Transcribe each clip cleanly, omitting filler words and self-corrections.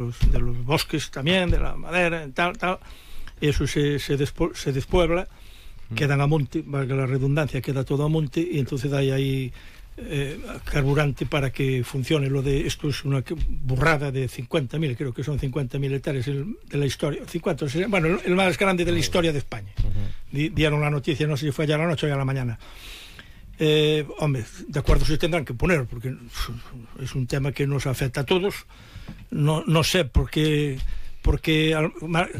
los bosques también, de la madera, tal, eso se despuebla, quedan a monte, valga la redundancia, queda todo a monte, y entonces hay ahí carburante para que funcione lo de esto. Es una burrada de 50.000, creo que son 50.000 hectáreas de la historia, 50, bueno, el más grande de la historia de España. Dieron la noticia, no sé si fue ayer a la noche o a la mañana. Hombre, de acuerdo, se tendrán que poner, porque es un tema que nos afecta a todos. No sé por qué.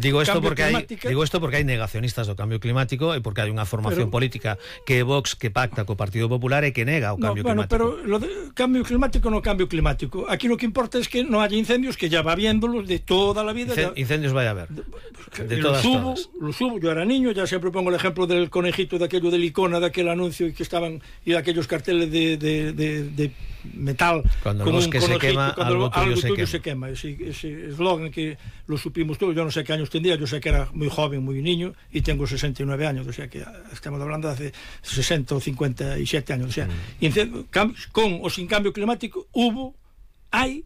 Digo esto porque hai negacionistas do cambio climático e porque hai unha formación política que é Vox, que pacta co Partido Popular e que nega o cambio climático. Pero lo de cambio climático no cambio climático. Aquí lo que importa es que no haya incendios, que ya va habiéndolos de toda la vida. Incendios vai a haber. De todas. Los hubo, yo era niño, ya siempre pongo el ejemplo del conejito de aquello del Icona, de aquel anuncio y que estaban, y aquellos carteles de metal, cuando con el bosque se quema, algo tuyo se quema. Ese eslogan que lo supimos todos. Yo no sé qué años tendría, yo sé que era muy joven, muy niño, y tengo 69 años, o sea que estamos hablando de hace 60 o 57 años, o sea, con o sin cambio climático hay,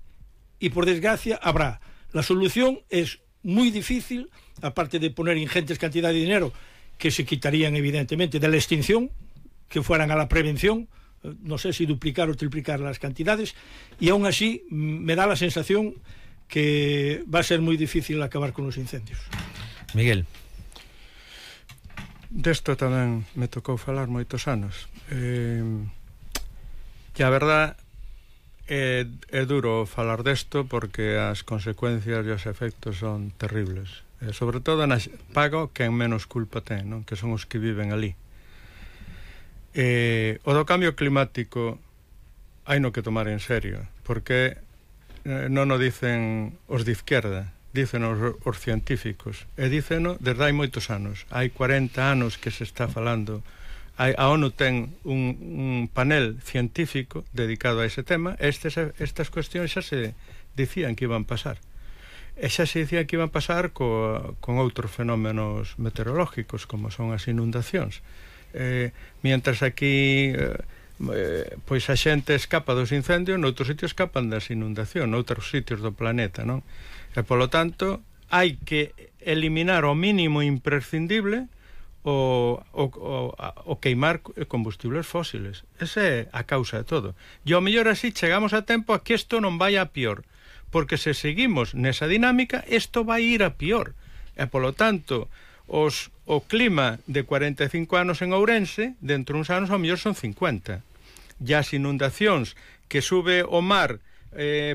y por desgracia habrá. La solución es muy difícil, aparte de poner ingentes cantidades de dinero que se quitarían evidentemente de la extinción, que fueran a la prevención, no sé si duplicar o triplicar las cantidades, y aún así me da la sensación que va a ser moi difícil acabar con os incendios. Miguel. Desto tamén me tocou falar moitos anos. Que a verdad é duro falar desto porque as consecuencias e os efectos son terribles. Sobre todo pago quen menos culpa ten, non? Que son os que viven ali. O do cambio climático hai no que tomar en serio, porque non o dicen os de izquierda, dicen os científicos, e diceno desde hai moitos anos. Hai 40 anos que se está falando. A ONU ten un panel científico dedicado a ese tema. Estas cuestións xa se dicían que iban pasar, e xa se dicían que iban pasar con outros fenómenos meteorológicos como son as inundacións. Mientras aquí pois a xente escapa dos incendios, noutros sitios escapan das inundacións, noutros sitios do planeta, non? E polo tanto hai que eliminar o mínimo imprescindible o queimar combustibles fósiles. Esa é a causa de todo. E ao mellor así chegamos a tempo a que isto non vai a pior, porque se seguimos nesa dinámica isto vai ir a pior. E polo tanto o clima de 45 anos en Ourense, dentro uns anos ao mellor son 50. E as inundacións que sube o mar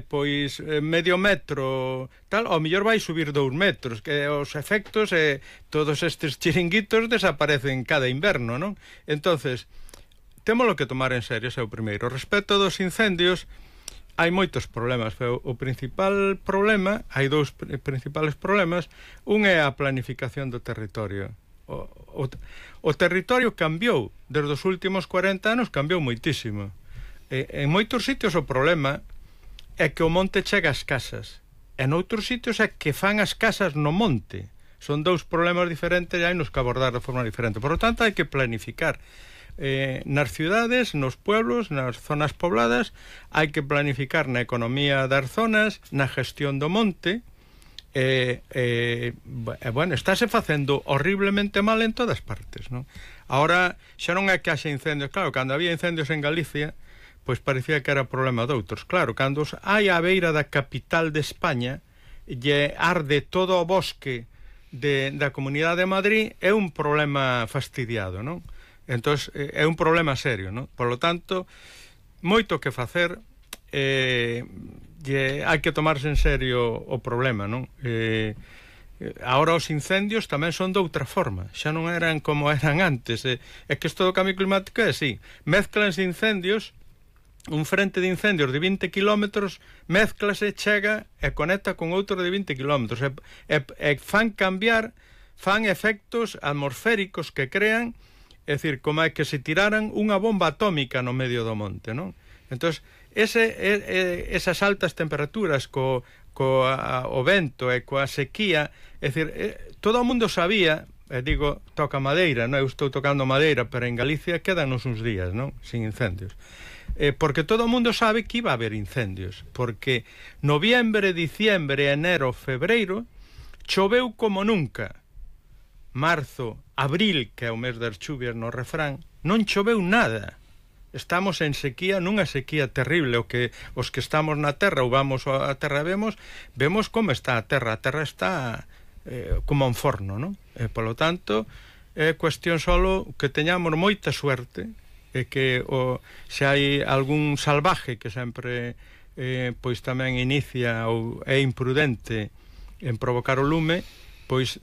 pois medio metro tal, ao mellor vai subir 2 metros, que os efectos todos estes chiringuitos desaparecen cada inverno, non? Entonces témolo que tomar en serio, ese é o primeiro. Respecto dos incendios, hai moitos problemas, pero o principal problema, hai dous principales problemas. Un é a planificación do territorio. O territorio cambiou, desde os últimos 40 anos cambiou moitísimo. En moitos sitios o problema é que o monte chega ás casas, e noutros sitios é que fan as casas no monte. Son dous problemas diferentes e hai nos que abordar de forma diferente. Por lo tanto, hai que planificar. Nas ciudades, nos pueblos, nas zonas pobladas, hai que planificar na economía das zonas, na gestión do monte. Bueno, estáse facendo horriblemente mal en todas partes, non? Ahora xa non é que haxa incendios. Claro, cando había incendios en Galicia, pois parecía que era problema de outros. Claro, cando hai a beira da capital de España e arde todo o bosque da Comunidade de Madrid, é un problema fastidiado, non? Entón, é un problema serio, non? Por lo tanto, moito que facer, hai que tomarse en serio o problema, non? Ahora os incendios tamén son de outra forma, xa non eran como eran antes. É que isto do cambio climático é así, mezclanse incendios, un frente de incendios de 20 kilómetros mezclase, chega e conecta con outro de 20 kilómetros, e fan cambiar, fan efectos atmosféricos que crean. É dicir, como é que se tiraran unha bomba atómica no medio do monte, non? Entón, esas altas temperaturas co vento e coa sequía, é dicir, todo o mundo sabía, digo, toca madeira, non? Eu estou tocando madeira, pero en Galicia quedanos uns días, non? Sin incendios. porque todo o mundo sabe que iba a haber incendios, porque noviembre, diciembre, enero, febreiro choveu como nunca. Marzo, abril, que é o mes das chuvias no refrán, non choveu nada. Estamos en sequía, nunha sequía terrible. Os que estamos na terra ou vamos á terra vemos como está a terra está como un forno, non? Polo tanto, é cuestión solo que teñamos moita suerte e que se hai algún salvaje que sempre pois tamén inicia ou é imprudente en provocar o lume, pois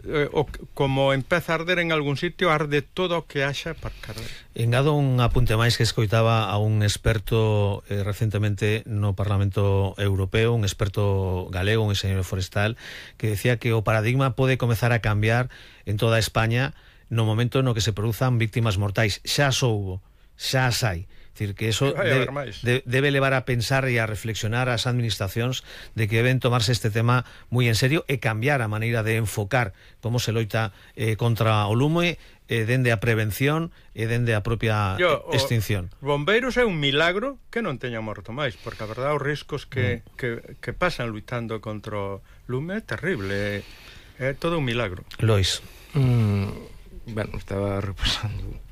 como empeza a arder en algún sitio, arde todo o que haxa para carrer. Engado un apunte máis que escoitaba a un experto recentemente no Parlamento Europeo, un experto galego, un enxeñeiro forestal, que decía que o paradigma pode comezar a cambiar en toda España no momento no que se produzan víctimas mortais. Xa soubo, xa as hai. Decir, que eso debe levar a pensar e a reflexionar as administracións de que deben tomarse este tema moi en serio e cambiar a maneira de enfocar como se loita contra o lume, dende a prevención e dende a propia extinción. Bombeiros é un milagro que non teña morto máis, porque a verdade os riscos que pasan luitando contra o lume é terrible, é todo un milagro. Lois. Bueno, estaba repasando.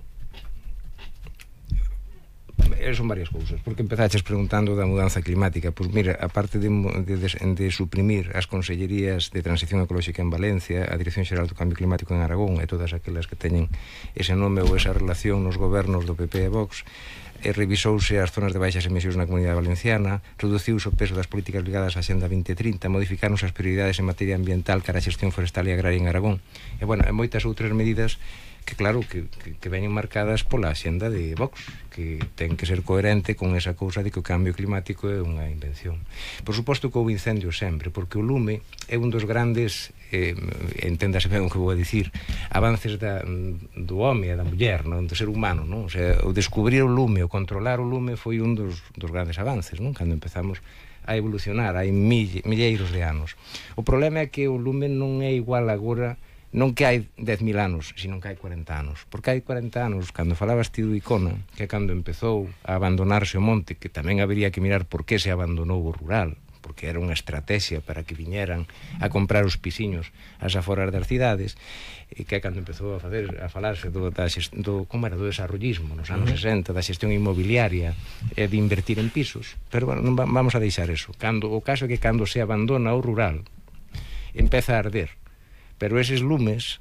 Son varias cousas, porque empezaches preguntando da mudanza climática. Pois mira, aparte de suprimir as consellerías de transición ecolóxica en Valencia, a Dirección Xeral do Cambio Climático en Aragón e todas aquelas que teñen ese nome ou esa relación nos gobernos do PP e Vox, revisouse as zonas de baixas emisións na Comunidade Valenciana, reduciuse o peso das políticas ligadas á Xenda 2030, modificaronse as prioridades en materia ambiental cara a xestión forestal e agraria en Aragón, e bueno, moitas outras medidas que claro, que veñen marcadas pola xenda de Vox, que ten que ser coherente con esa cousa de que o cambio climático é unha invención. Por suposto que houve incendios sempre, porque o lume é un dos grandes, enténdase ben o que vou a dicir, avances do home e da muller, non? Do ser humano, non? O sea, o descubrir o lume, o controlar o lume foi un dos grandes avances, non? Cando empezamos a evolucionar, hai milleiros de anos. O problema é que o lume non é igual agora, non que hai 10.000 anos, sino que hai 40 anos. Porque hai 40 anos, cando falabas ti do Icona, que cando empezou a abandonarse o monte, que tamén habería que mirar por que se abandonou o rural, porque era unha estrategia para que viñeran a comprar os pisiños ás aforas das cidades, e que cando empezou a falarse do desarrollismo nos anos 60, da xestión inmobiliaria e de invertir en pisos. Pero bueno, non vamos a deixar eso. O caso é que cando se abandona o rural, empeza a arder. Pero eses lumes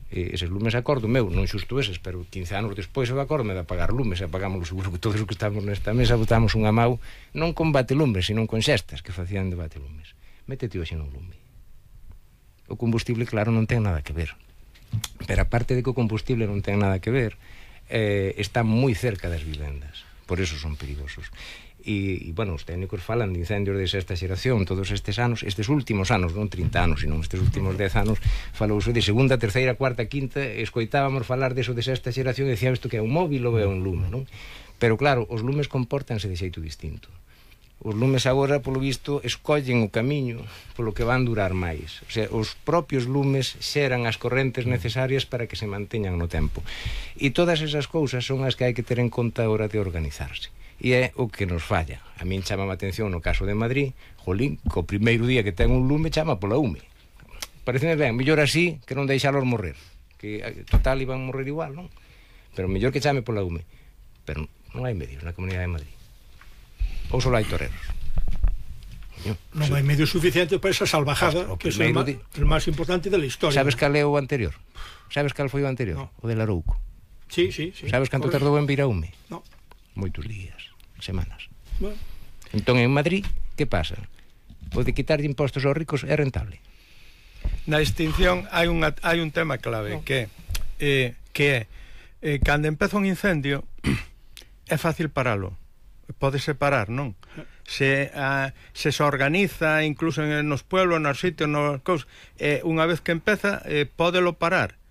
acordo meu, non xusto eses, pero 15 anos despois eu acordo-me de apagar lumes, e apagámoslo seguro que todos os que estamos nesta mesa botamos unha mau, non con batelumes, sino con xestas que facían de batelumes. Métete hoxe nun lume. O combustible, claro, non ten nada que ver. Pero aparte de que o combustible non ten nada que ver, está moi cerca das vivendas. Por eso son perigosos. E, bueno, os técnicos falan de incendios de sexta xeración todos estes anos, estes últimos anos, non 30 anos, sino estes últimos 10 anos, falouse de segunda, terceira, cuarta, quinta, escoitábamos falar deso de sexta xeración e decíamos isto que é un móvil ou é un lume, non? Pero claro, os lumes compórtanse de xeito distinto. Os lumes agora, polo visto, escollen o camiño polo que van durar máis. O sea, os propios lumes xeran as correntes necesarias para que se manteñan no tempo. E todas esas cousas son as que hai que ter en conta a hora de organizarse. E é o que nos falla. A min chama a atención no caso de Madrid, jolín, co primeiro día que ten un lume chama pola UME. Pareceme ben, mellor así que non deixalos morrer, que total iban morrer igual, non? Pero mellor que chame pola UME. Pero non hai medios na Comunidade de Madrid. Ou só hai toreros. Non hai medios suficientes para esa salvajada, que é o máis importante da historia. Sabes cal é o anterior? Sabes cal foi o anterior? No. O de Larouco. Sí. Sabes canto tardou en vir a UME? No. Moitos días, semanas. Bueno. Entón en Madrid, que pasa? O de quitarlle impostos aos ricos é rentable. Na extinción hai un tema clave, que é cando empeza un incendio é fácil paralo. Pódese parar, non? Se organiza incluso nos pueblos, nos sitios, nos cousas, unha vez que empeza pódelo parar.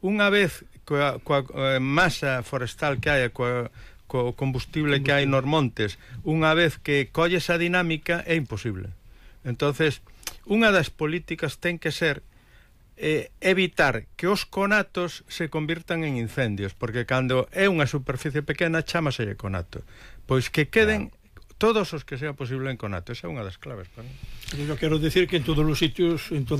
Unha vez coa masa forestal que hai, co combustible que hai nos montes, unha vez que colle esa dinámica, é imposible. Entonces, unha das políticas ten que ser evitar que os conatos se convirtan en incendios, porque cando é unha superficie pequena chámaselle conato, pois que queden todos os que sea posible en conato. Esa é unha das claves para mí. Eu quero decir que en todos os sitios, en todas